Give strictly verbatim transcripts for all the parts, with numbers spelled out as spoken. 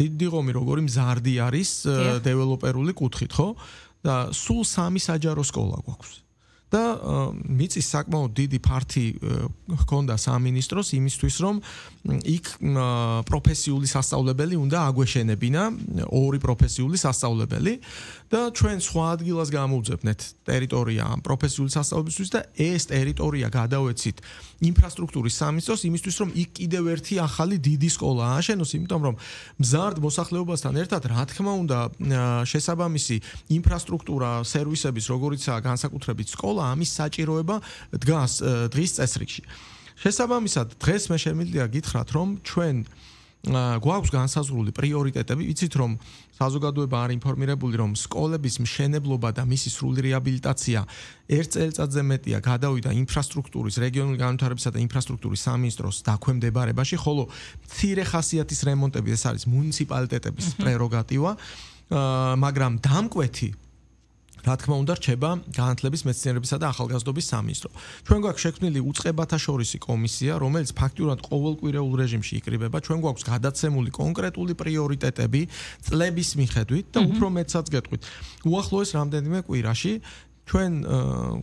დიდი ღომი როგორი მზარდი არის დეველოპერული კუთხით, ხო? და სულ სამი საჯარო სკოლა გვაქვს. და მიწის საკმაოდ დიდი ფართი ჰქონდა სამინისტროს იმისთვის, რომ იქ პროფესიული სასწავლებელი უნდა აგვეშენებინა, ორი პროფესიული სასწავლებელი და ჩვენ სხვა ადგილას გამოვძებნეთ ტერიტორია ამ პროფესიული სასწავლებელისთვის და ეს ტერიტორია გადავეცით ინფრასტრუქტურის სამინისტროს იმისთვის, რომ იქ კიდევ ერთი ახალი დიდი სკოლა ააშენოს, იმიტომ რომ მზარდ მოსახლეობასთან ერთად, რა თქმა უნდა, შესაბამისი ინფრასტრუქტურა, სერვისების, როგორიცაა განსაკუთრებით სკოლა ამის საჭიროება დგას დღის წესრიგში. შესაბამისად, დღეს მე შემიძლია გითხრათ, რომ ჩვენ გვაქვს განსაზღვრული პრიორიტეტები, ვიცით რომ საზოგადოება არ ინფორმირებული, რომ სკოლების მშენებლობა და მისი სრული რეაბილიტაცია ერთ წელიწადზე მეტია გადავიდა ინფრასტრუქტურის, რეგიონული განვითარებისა და ინფრასტრუქტურის სამინისტროს დაქვემდებარებაში, ხოლო მცირე ხასიათის რემონტები ეს არის მუნიციპალიტეტების პრეროგატივა, მაგრამ დამკვეთი რა თქმა უნდა რჩება განათლების მეცნიერებისა და ახალგაზრდობის სამინისტრო. ჩვენ გვაქვს შექმნილი უწყებათა შორისი კომისია, რომელიც ფაქტიურად ყოველკვირეულ რეჟიმში იკრიბება. ჩვენ გვაქვს გადაცემული კონკრეტული პრიორიტეტები წლების მიხედვით და უფრო მეტსაც გეტყვით. უახლოეს რამდენიმე კვირაში ჩვენ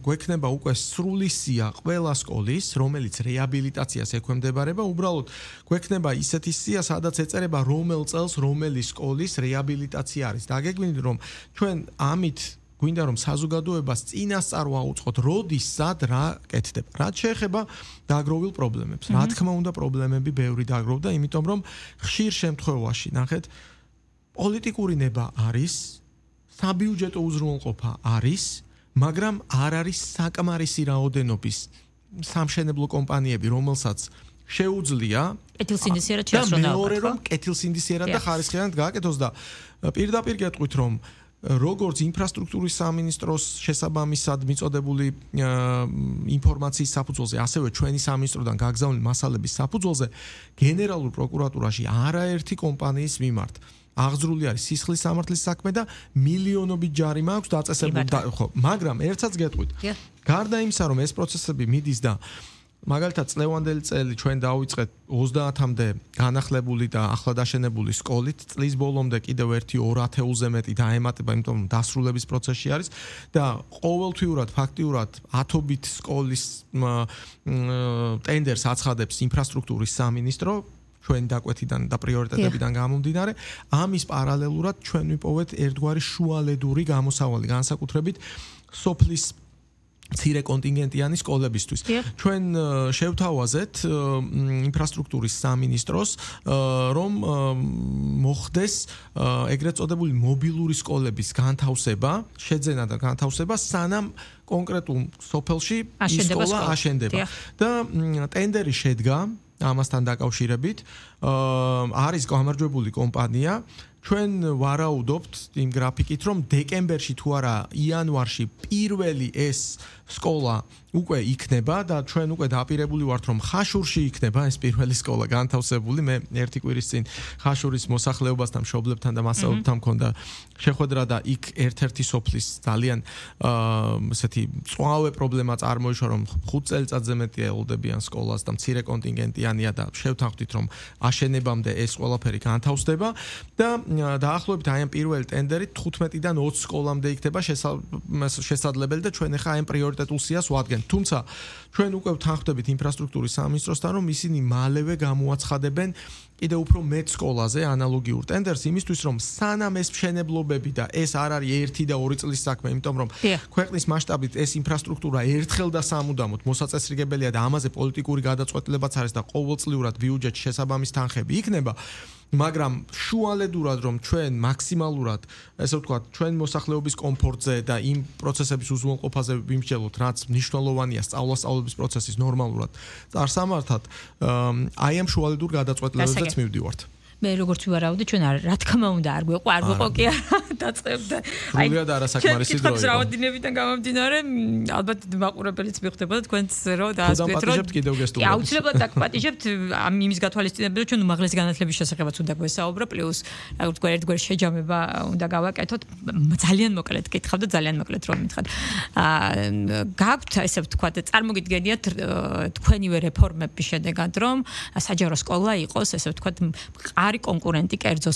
გვექნება უკვე სრული სია ყველა სკოლის, რომელიც რეაბილიტაციას ექვემდებარება, უბრალოდ გვექნება ისეთი სია, სადაც ეწერება რომელ წელს რომელი სკოლის რეაბილიტაცია არის. დაგეგმილი რომ ჩვენ ამით გვინდა რომ საზოგადოებას წინასწარ ვაუწყოთ, როდის სად რა კეთდება. რაც შეეხება დაგროვილ პრობლემებს. რა თქმა უნდა, პრობლემები ბევრი დაგროვდა, იმიტომ რომ ხშირ შემთხვევაში, ნახეთ, პოლიტიკური ნება არის, საბიუჯეტო უზრუნველყოფა არის, მაგრამ არ არის საკმარისი რაოდენობის სამშენებლო კომპანიები, რომელსაც შეუძლია კეთილსინდისიერად შეასრულოს. და მეორე რომ კეთილსინდისიერად და ხარისხიანად გააკეთოს და პირდაპირ გეტყვით რომ როგორც ინფრასტრუქტურის სამინისტროს შესაბამისად მიწოდებული ინფორმაციის საფუძველზე, ასევე ჩვენი სამინისტროდან გაგზავნილი მასალების საფუძველზე, გენერალურ პროკურატურაში არაერთი კომპანიის მიმართ აღძრული არის სისხლის სამართლის საქმე და მილიონობით ჯარიმა აქვს დაწესებული, ხო, მაგრამ ერთსაც გეტყვით. გარდა იმისა, რომ ეს პროცესები მიდის და მაგალითად წლევანდელი წელი ჩვენ დავიწყეთ ოცდაათამდე განახლებული და ახლა დაშენებული სკოლით, წლის ბოლომდე კიდევ ერთი ორ ათეულზე მეტი დაემატება, იმიტომ რომ დასრულების პროცესში არის და ყოველთვიურად ფაქტიურად ათობით სკოლის ტენდერს აცხადებს ინფრასტრუქტურის სამინისტრო ჩვენი დაკვეთიდან და პრიორიტეტებიდან გამომდინარე, ამის პარალელურად ჩვენ ვიპოვეთ ერთგვარი შუალედური გამოსავალი, განსაკუთრებით სოფლის მცირე კონტინგენტიანი სკოლებისთვის. ჩვენ შევთავაზეთ ინფრასტრუქტურის სამინისტროს, რომ მოხდეს ეგრეთ წოდებული მობილური სკოლების განთავსება, შეძენა და განთავსება, სანამ კონკრეტულ სოფელში სკოლა აშენდება. და ტენდერი შედგა ამასთან დაკავშირებით, არის გამარჯვებული კომპანია. ჩვენ ვარაუდობთ იმ გრაფიკით, რომ დეკემბერში თუ არა იანვარში პირველი ეს სკოლა უკვე იქნება და ჩვენ უკვე დაპირებული ვართ, რომ ხაშურში იქნება ეს პირველი სკოლა განთავსებული. მე ერთი კვირის წინ ხაშურის მოსახლეობასთან, მშობლებთან და მასწავლებლებთან მქონდა შეხვედრა და იქ ერთ-ერთი სოფლის ძალიან ესეთი მწვავე პრობლემა წარმოიშვა, რომ ხუთ წელიწადზე მეტი ელოდებიან სკოლას და მცირე კონტინგენტიანია და შევთანხმდით, რომ აშენებამდე ეს ყველაფერი განთავსდება და დაახლოებით აი ამ პირველი ტენდერით თხუთმეტიდან ოცი სკოლამდე იქნება შესაძლებელი და ჩვენ ახლა აი ამ პრიორიტეტულ სიას ვადგენთ. თუმცა ჩვენ უკვე ვთანხმდებით ინფრასტრუქტურის სამინისტროსთან, რომ ისინი მალევე გამოაცხადებენ კიდევ უფრო მეტ სკოლაზე ანალოგიურ ტენდერს, იმისთვის რომ სანამ ეს მშენებლობები და ეს არ არის ერთი და ორი წლის საქმე, იმიტომ რომ ქვეყნის მასშტაბით ეს ინფრასტრუქტურა ერთხელ და სამუდამოდ მოსაწესრიგებელია და ამაზე პოლიტიკური გადაწყვეტილებაც არის და ყოველწლიურად ბიუჯეტში შესაბამის თანხები იქნება. მაგრამ შუალედურად რომ ჩვენ მაქსიმალურად, ესე ვთქვათ, ჩვენ მოსახლეობის კომფორტზე და იმ პროცესების უზრუნველყოფაზე ვიმსჯელოთ, რაც მნიშვნელოვანია სწავლა-სწავლების პროცესის ნორმალურად წარსამართად, აი ამ შუალედურ გადაწყვეტილებებზეც მივდივართ. მე როგორც ვარაუდე, ჩვენ არ რა თქმა უნდა არ გვეყო, არ გვეყო კი დაწყებდა. აი, არასაკმარისი დროა. ჩვენ რაოდინებიდან გამომდინარე, ალბათ მაყურებელიც მიხვდებოდა თქვენც რომ დაასწრეთ რომ კი, აუცილებლად დაგპატიჟებთ ამ იმის გათვალისწინებელად, ჩვენ უმაღლესი განათლების შესახებაც უნდა გვესაუბრო, პლუს როგორც თქვა ერთგვარი შეჯამება უნდა გავაკეთოთ. ძალიან მოკლედ გითხავ და ძალიან მოკლედ რომ მითხრათ. აა გაქვთ ესე ვთქვათ, წარმოგიდგენიათ თქვენივე რეფორმების შედეგად რომ საჯარო სკოლა იყოს, ესე ვთქვათ, არი კონკურენტი კერძო